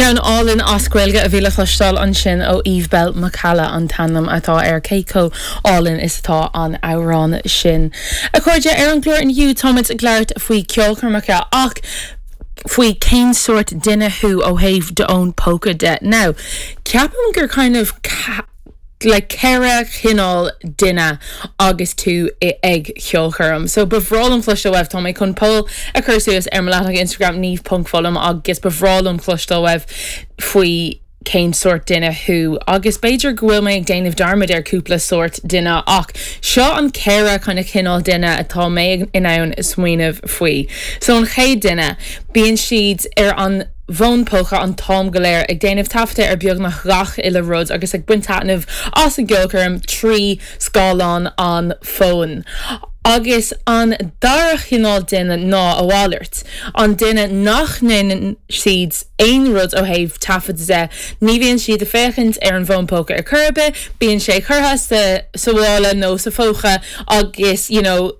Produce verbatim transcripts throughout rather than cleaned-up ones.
Ceann álainn as Gaeilge a bhí le cloisteáil ansin ó Eve Belle McCalla an t-ainm atá air cé chomh hálainn is atá an amhrán sin. A chairde ar an gclár inniu táimid ag labhairt faoi ceolchoirmeacha ach faoi cén sórt duine thú ó thaobh d'fhón póca de. Now, ceapaim gur kind of le ceithre chineál duine agus tú ag ceolchoirm. So ba bhreá liom cloisteáil uaibh tá mé chun poll a chur suas ar mo leathanach Instagram niamh ponc fulham agus ba bhreá liom cloisteáil uaibh faoi cén sórt duine thú agus b'fhéidir go bhfuil mé ag déanamh dearmad ar cúpla sórt duine ach seo an ceithre kind of cineál duine atá mé in ann smaoineamh faoi. So an chéad duine bíonn siad ar an bhfón póca an t-am go léir ag déanamh taifeadta ar beagnach gach uile rud agus ag baint taitneamh as an gceolchoirm trí scáileán an fóin. Agus an dara chineál duine ná a mhalairt. An duine nach ndéanann siad aon rud ó thaobh taifead de, ní bhíonn siad ag féachaint ar an bhfón póca ar chor ar bith, bíonn sé curtha sa sa mhála nó sa phóca agus you know,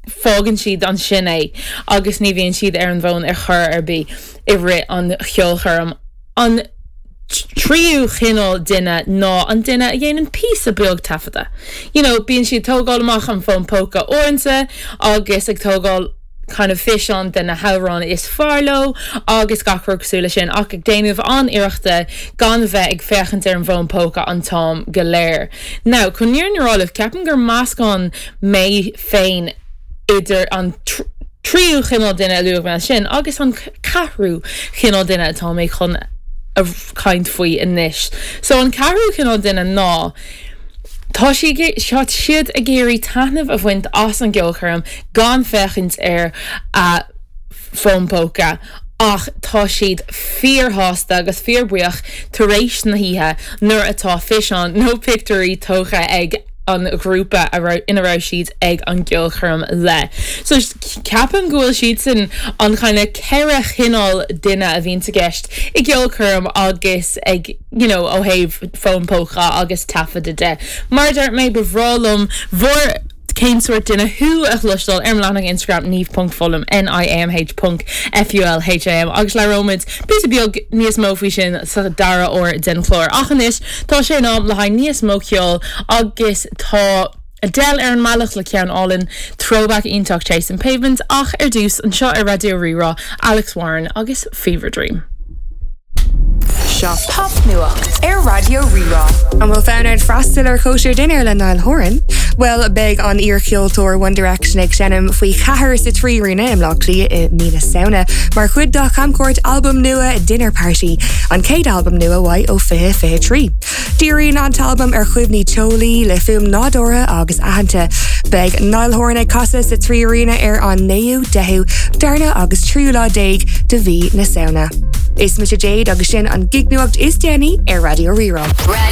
fágann siad ansin é agus ní bhíonn siad ar an bhfón ar chor ar bith i rith an cheolchoirm. An tríú chineál duine ná an duine a dhéanann píosa beag taifeadta. You know, bíonn siad tógáil amach an fón póca uaireanta agus ag tógáil kind of físeán de na hamhráin is fearr leo agus gach rud cosúil leis sin ach ag déanamh an-iarrachta gan bheith ag féachaint ar an bhfón póca an t-am go léir. Now, chun an fhírinne a rá libh ceapaim gur meascán mé féin idir an tríú chineál duine a luaigh mé sin agus an ceathrú chineál duine atá mé chun a caint faoi anois. So an ceathrú chineál duine ná Tá siad ag iarraidh taitneamh a bhaint as an gceolchoirm gan féachaint ar a bhfón póca ach tá siad fíorshásta agus fíorbhuíoch tar éis na hoíche nuair atá físeán nó pictiúirí tógtha ag an ghrúpa a ina raibh siad ag an gceolchoirm le. So ceapaim go bhfuil siad sin an kind of ceithre chineál duine a bhíonn i gceist i gceolchoirm agus ag you know, ó thaobh fón póca agus taifead de. Mar dúirt mé ba bhreá liom bhur cén sórt duine thú a chloisteáil ar leathanach Instagram niamh.fulham NIAMH ponc FULHAM agus labhróimid píosa beag níos mó faoi sin sa dara huair den chlár. Ach anois tá sé in am le haghaidh níos mó ceoil agus tá Adele ar an mbealach le ceann álainn throwback iontach Chasing Pavements ach ar dtús anseo ar Raidió Rí-Rá Alex Warren agus Fever Dream. Seo Popnuacht ar Raidió Rí-Rá. An bhfuil fonn ort freastal ar chóisir dinnéir le Niall Horan? Well beidh an iarcheoltóir One Direction ag seinm faoi cheathair sa Trí Aréna i mBleá Cliath i mí na Samhna, mar chuid dá chamchuairt albam nua Dinner Party, an chéad albam nua uaidh ó fiche fiche trí. Díríonn an t-albam ar chuimhní teolaí le fuaim nádúrtha agus aitheanta. Beidh Niall Horan ag casadh sa Trí Aréna ar an naoú deichiú darna agus tríú lá déag de mhí na Samhna. Is mise Jade agus sin an gignuacht is déanaí ar Raidió Rí-Rá. Radio